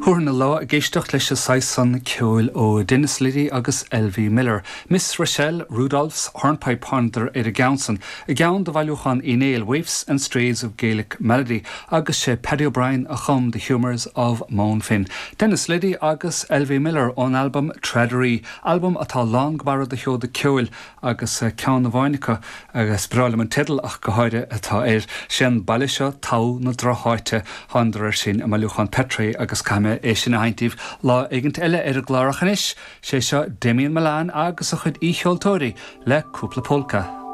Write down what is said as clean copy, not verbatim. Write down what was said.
Thabharfainn an lá ag éisteacht leis an saghas san ceoil ó Dennis Liddy agus Elvie Miller. Miss Rochelle Rudolph's Hornpipe thánadar ar an gceann san, i gceann de bhailiúchán Uí Néill, Waifs and Strays of Gaelic Melody, agus sé Paddy O'Brien a chum The Humours of Mountfinn. Dennis Liddy agus Elvie Miller ón albam Tradaree, albam atá lán go barra de sheoda ceoil agus ceann amháin acu, agus is breá liom an teideal ach go háirithe, atá air, 'Sé an baile seo togha na drocháite. Thánadar air sin i mbailiúchán Petrie agus caithfidh mé é sin a sheinnt daoibh lá éigint eile ar an gclár ach anois, 'sé seo Damien Mullane agus a chuid aoicheoltóirí le cúpla pólca.